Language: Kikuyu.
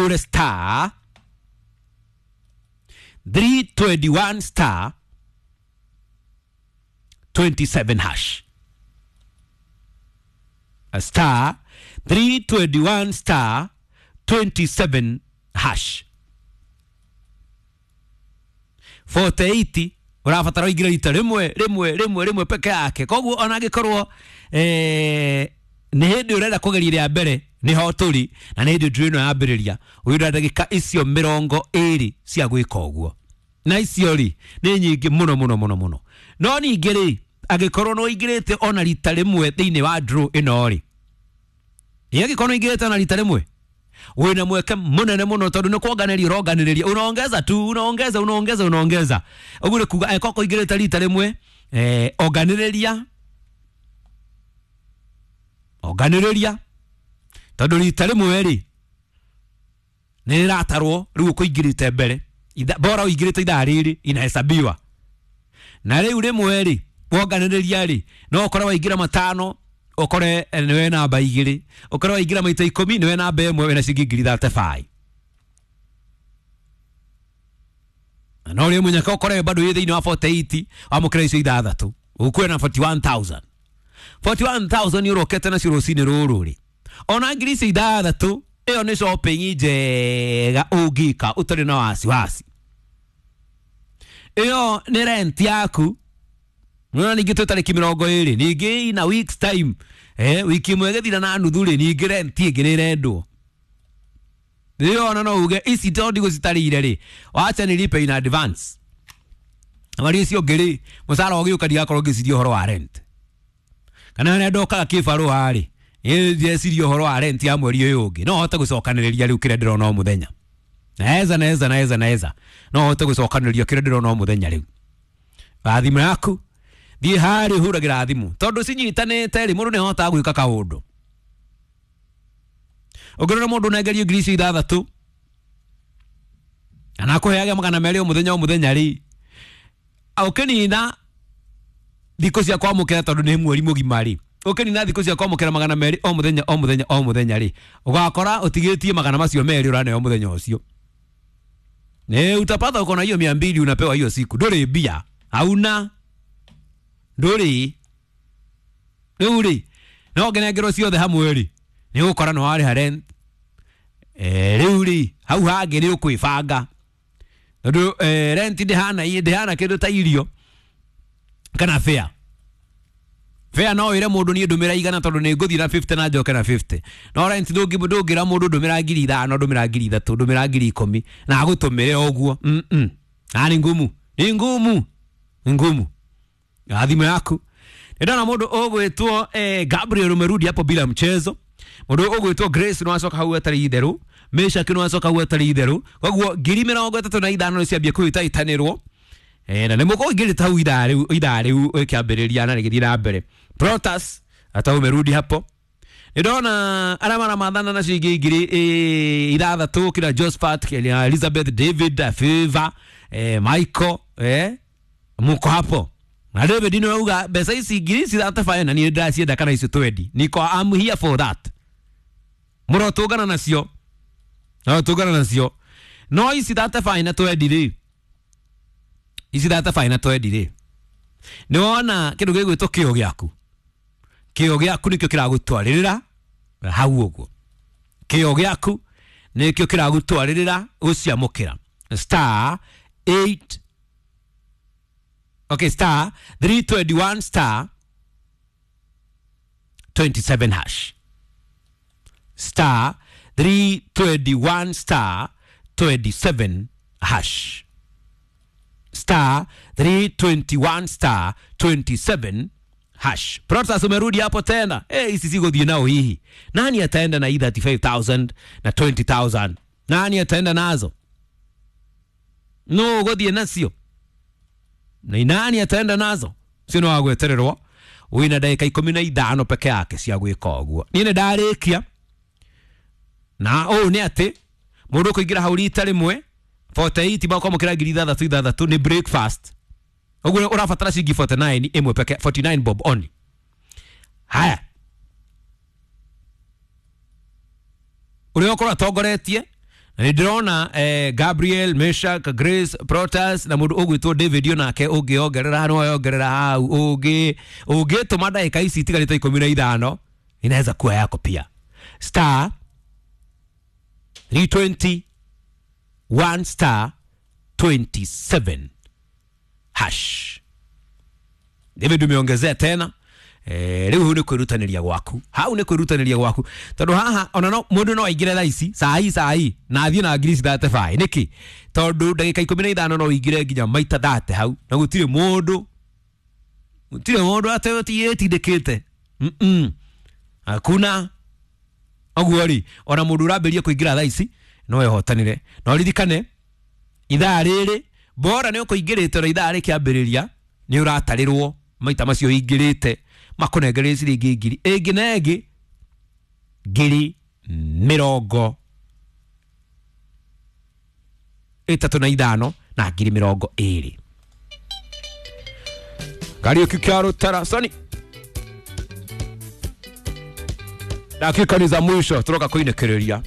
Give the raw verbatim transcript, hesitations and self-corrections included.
Ũhũre star three twenty-one star twenty-seven hash. A star three twenty-one star twenty-seven hash. forty-eight ũrabatara ũingĩre rita rĩmwe rĩmwe rĩmwe rĩmwe peke yake. Koguo ona angĩkorwo eh, nĩ hĩndĩ ũrenda kũgeria rĩa mbere nĩho tũrĩ na nĩ hĩndĩ ndũrĩ ĩno yambĩrĩria wĩna ndagĩka icio mĩrongo ĩrĩ cia gwĩka ũguo, na icio rĩ nĩ nyingĩ mũno mũno mũno mũno. No ningĩ rĩ angĩkorwo nĩ ũingĩrĩte ona rita rĩmwe thĩinĩ wa draw ĩno rĩ, ĩ angĩkorwo nĩ ũingĩrĩte ona rita rĩmwe wĩna mweke mũnene mũno tondũ nĩ kuonganĩria ũronganĩrĩria, unaongeza tu, unaongeza unaongeza unaongeza. Ũguo nĩ kuga angĩkorwo kũingĩrĩte rita rĩmwe eh, onganĩrĩria onganĩrĩria tondũ rita rĩmwe rĩ nĩ rĩratarwo rĩu ũkũingĩrĩte mbere. Itha, bora ũingĩrĩte ithaa rĩrĩ inahesabiwa. Na rĩu rĩmwe rĩ wonganĩrĩria rĩ no ũkore waingĩra matano, ũkore nĩwe namba igĩrĩ, ũkore waingĩra maita ikũmi nĩwe namba ĩmwe wĩna ciringi ngiri thirty-five. Na no rĩmwe nyaka ũkore bado wĩ thĩinĩ wa forty-eight wamũkĩra icio ithathatũ ũkuwe na forty-one thousand. forty-one thousand ũrokete nacio rũcinĩ rũrũ rĩ, ona ngiri icio ithathatũ ĩyo nĩ shopping njega ũngĩka ũtarĩ na wasiwasi. Ĩyo nĩ rent yaku. Nona ningĩ twĩ tarĩki mĩrongo ĩrĩ, ningĩ in a week's time, eh, wiki ĩmwe ĩgĩthira na nuthu rĩ, ningĩ rent ĩngĩ nĩ ĩrendwo. Ĩyo ona no uge ici tondũ ndigũcitarĩire rĩ, wacha nilipe in advance. Mari icio ũngĩ rĩ, mũcara ũgĩũka ndigakorwo ngĩciria ũhoro wa rent. Kana harĩa ndokaga kĩbarũa rĩ, ĩ ndĩreciria ũhoro wa rent ya mweri ũyũ ũngĩ. No hote gũcokanĩrĩria rĩu kĩrĩa ndĩrona o mũthenya. Naeza, naeza, naeza, naeza. No hote gũcokanĩrĩria kĩrĩa ndĩrona o mũthenya rĩu. Thimũ yaku thiĩ harĩa ũhũragĩra thimũ tondũ cinyitanĩte rĩ, mũndũ nĩahotaga gwĩka kaũndũ. Ũngĩrora mũndũ ũnengerio ngiri icio ithathatũ na akũheage magana merĩ o mũthenya o mũthenya rĩ, ũkĩnina thikũ cia kwamũkĩra tondũ nĩ mweri mũgima rĩ, ũkĩnina thikũ cia kwamũkĩra magana merĩ o mũthenya o mũthenya o mũthenya rĩ, ũgakora ũtigĩtie magana macio merĩ ũraneo mũthenya ũcio. Nĩ utapata uko na hiyo mia mbili unapewa hiyo siku. Ndũrĩ mbia, hauna ndũrĩ. Rĩu rĩ no ngenengerwo ciothe hamwe rĩ, nĩ ũgũkora nĩ warĩha rent. Eh, rĩu rĩ hau hangĩ nĩ ũkwĩbanga tondũ eh, rent ndĩhana ndĩhana kĩndũ ta irio kana fare. Fare no wĩre mũndũ niĩ ndũmĩra igana tondũ nĩ ngũthiĩ na fifty na njoke na fifty. No rent ndũngĩra mũndũ ndũmĩra ngiri ithano, ndũmĩra ngiri ithatũ, ndũmĩra ngiri ikũmi na agũtũmĩre ũguo. Mm -mm. Na nĩ ngumu, nĩ ngumu, nĩ ngumu. Thimũ yaku ndona mũndũ ũgwĩtwo eh, Gabriel umerudi hapo bila mchezo. Mũndũ ũgwĩtwo Grace no acoka hau atarĩ itherũ, Meshak no acoka hau atarĩ itherũ. Koguo ngiri mĩrongo ĩtatũ na ithano nĩ ciambia kũhĩtahĩtanĩrwo. Eh, na nĩ mũkũingĩrĩte hau ithaa rĩu, ithaa rĩu ĩkĩambĩrĩria na rĩgĩthiĩ na mbere. Protas hata umerudi hapo. Nĩndona arĩa maramathana nacio ingĩ ngiri ithathatũ kina Josephat, kina Elizabeth, David, Favor, eh, Michael, eh, muko hapo. Na David nĩ auga mbeca ici ngiri ici thirty-five na niĩ ndĩracienda kana icio twendi. Niko I'm here for that. Mũrotũngana nacio. Mũrotũngana nacio. No ici thirty-five na twendi rĩ, ici thirty-five na twendi rĩ, nĩ wona kĩndũ gĩgwĩtwo kĩo gĩaku. Kĩo gĩaku nĩkĩo kĩragũtwarĩrĩra hau ũguo. Kĩo gĩaku nĩkĩo kĩragũtwarĩrĩra gũciamũkĩra. Star eight, okay, star three twenty-one star twenty-seven hash. Star three twenty-one star twenty-seven hash. Star three twenty-one star twenty-seven hash. Protas umerudi hapo tena. Eh, hizi sigothiĩ nao hihi. Nani ataenda na hii thirty-five thousand na twenty thousand? Nani ataenda nazo? No gũthiĩ nacio. Na nani ataenda nazo? Sio no agwetererwo. Wĩna ndagĩka ikũmi na ithano peke yake cia gwĩka ũguo. Niĩ nĩ ndarĩkia. Na ũũ nĩ atĩ mũndũ ũkũingĩra hau rita rĩmwe forty-eight bakwamũkĩra ngiri ithathatũ ithathatũ nĩ breakfast. Ũguo ũrabatara ciringi forty-nine ĩmwe peke, forty-nine bob only. Haya. Ũrĩa ũkorwo atongoretie Na nĩ ndĩrona eh, Gabriel, Meshak, Grace, Protas na mũndũ ũgwĩtwo David onake ũngĩongerera no yongerera hau ũngĩ ũngĩtũma ndagĩka ici itigarĩte ikũmi na ithano inaweza kuwa yako pia. Star three twenty one star twenty-seven hash. David umeongezea tena. Eh, rĩu hau nĩ kwĩrutanĩria gwaku, hau nĩ kwĩrutanĩria gwaku tondũ haha ona no mũndũ no aingĩre thaa ici saa hii saa hii na athiĩ na ngiri thate baĩ. Nĩkĩ? Tondũ ndagĩka ikũmi na ithano no ũingĩre nginya maita thate hau na gũtirĩ mũndũ gũtirĩ mũndũ atĩtindĩkĩte. Mm-mm. Hakuna ũguo rĩ, ona mũndũ ũrambĩrĩria kũingĩra thaa ici no ehotanĩre. No ririkane ithaa rĩrĩ bora nĩ ũkũingĩrĩte na ithaa rĩkĩambĩrĩria nĩ ũratarĩrwo maita macio ũingĩrĩte makũnengererie ciringi ngiri ĩngĩ na ĩngĩ ngiri mĩrongo ĩtatũ na ithano na ngiri mĩrongo ĩrĩ. Kariũki kĩa Rũtara Soni, dakika ni za mwisho turoka kuinĩkĩrĩria.